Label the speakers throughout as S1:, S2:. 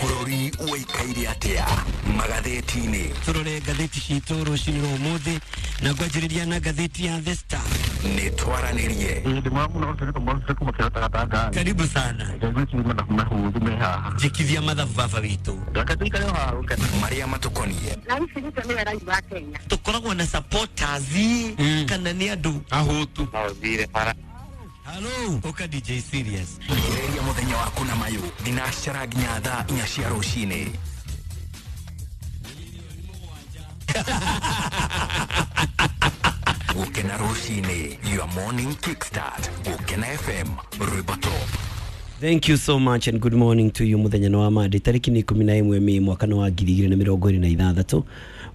S1: Bũrũri ũikaire atĩa magathĩti-inĩ?
S2: Tũrore ngathĩti citũ rũcinĩ rwa ũmũthĩ na ngwanjĩrĩria na ngathĩti ya The Star.
S1: Nĩ twaranĩrie.
S2: Karibu sana. Njĩkithia mathabu baba witũ.
S1: Marĩa matũkoniĩ.
S3: Na ici nĩcio nĩwe rais wa Kenya.
S2: Tũkoragwo na supporters kana nĩ andũ
S4: Ahũtu.
S2: Halo, ũka DJ Serious.
S1: Thikĩrĩria mũthenya waku na mayũ thinacara nginya thaa 4 cia rũcinĩ. Gũkena rũcinĩ, your morning kickstart. Gũkena FM, rwĩmbo top.
S2: Thank you so much and good morning to you. Muthenya nĩ wa Monday, tarĩki nĩ 11 Mĩĩ mwaka nĩ wa 2026.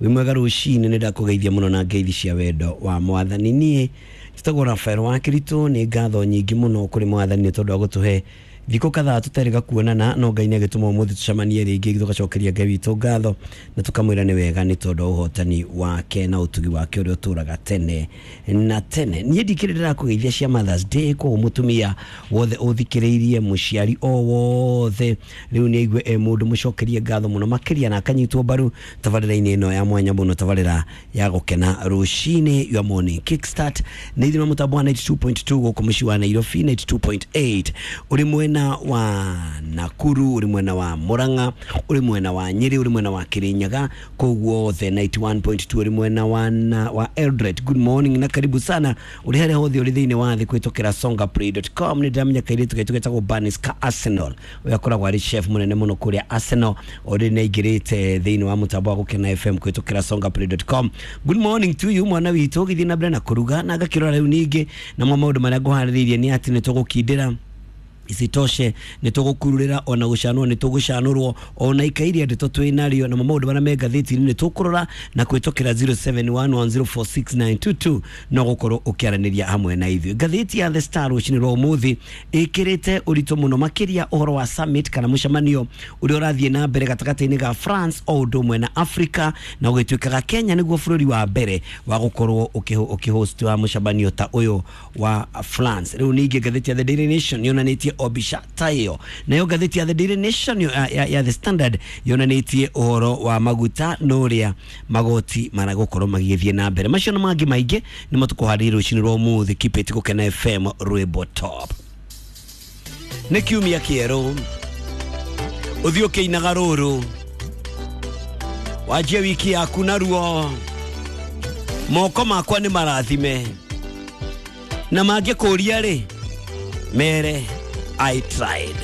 S2: Wĩ mwega rũcinĩ, nĩ ndakũgeithia mũno na ngeithi cia wendo wa mwathani. Niĩ njĩtagwo Rafael wa Kĩritũ. Nĩ ngatho nyingĩ mũno kũrĩ mwathani nĩ tondũ wa gũtũhe thikũ kadhaa tũtarĩ gakuonana, no Ngai nĩ agĩtũma ũmũthĩ tũcemanie rĩngĩ, tũgacokeria Ngai witũ ngatho na tũkamwĩra nĩ wega nĩ tondũ wa ũhotani wake na ũtugi wake ũrĩa ũtũraga tene na tene. Niĩ ndikĩrĩ ndĩrakũgeithia cia Mothers Day, koguo mũtumia wothe ũthikĩrĩirie, mũciari o wothe rĩu nĩ aigue e mũndũ mũcokerie ngatho mũno makĩria na akanyitwo mbaru tabarĩra-inĩ ĩno ya mwanya mũno, tabarĩra ya gũkena rũcinĩ, your morning kickstart, nĩ ithima mũtambo wa 92.2 gũkũ mũciĩ wa Nairobi, 92.8 ũrĩ mwena wa Nakuru, ũrĩ mwena wa Murang'a, ũrĩ mwena wa Nyĩrĩ, ũrĩ mwena wa Kirinyaga, kũu guothe 91.2 ũrĩ mwena wa, wa Eldoret. Good morning na karibu sana ũrĩ harĩa hothe ũrĩ thĩinĩ wa thĩ kũhĩtũkĩra songaplay.com. Nĩ ndĩramenya kairĩtu gaitũ getagwo Banis ka Arsenal, ũrĩa akoragwo arĩ chef mũnene mũno kũrĩa Arsenal, ũrĩ nĩ aingĩrĩte thĩinĩ wa mũtambo wa Gũkena FM kũhĩtũkĩra songaplay.com. Good morning to you mwana witũ, ũgĩthiĩ na mbere na kũruga na ngakĩrora rĩu ningĩ namo maũndũ marĩa ngũharĩrĩirie nĩ atĩ nĩ tũgũkindĩra, isitoshe nĩ tũgũkururĩra ona gũcanũrwo nĩ tũgũcanũrwo ona ikairia ndeto twĩ narĩo, namo maũndũ marĩa me ngathĩti-inĩ nĩ tũkũrora na kũhĩtũkĩra 0711046922 no gũkorwo ũkĩaranĩria hamwe na ithuĩ. Ngathĩti ya The Star rũcinĩ rwa ũmũthĩ ĩkĩrĩte ũritũ mũno makĩria ũhoro wa summit kana mũcemanio ũrĩa ũrathiĩ na mbere gatagatĩ-inĩ ga France o ũndũ ũmwe na Africa, na ũgĩtuĩkaga Kenya nĩguo bũrũri wa mbere wa gũkorwo ũkĩhost wa mũcemanio ta ũyũ wa France. Rĩu ningĩ ngathĩti ya The Daily Nation yonanĩtie o mbica ta ĩyo, nayo ngathĩti ya The Daily Nation ya The Standard yonanĩtie ũhoro wa maguta na ũrĩa magoti maragũkorwo magĩthiĩ na mbere. Macio na mangĩ maingĩ nĩmo tũkũharĩria rũcinĩ rwa ũmũthĩ. Keep it Gũkena FM, rwĩmbo top. Nĩ kiumia kĩerũ, ũthiĩ ũkĩinaga rũrũ, wanjie wiki yaku naruo. Moko makwa nĩ marathime, na mangĩkũria rĩ, mere I tried.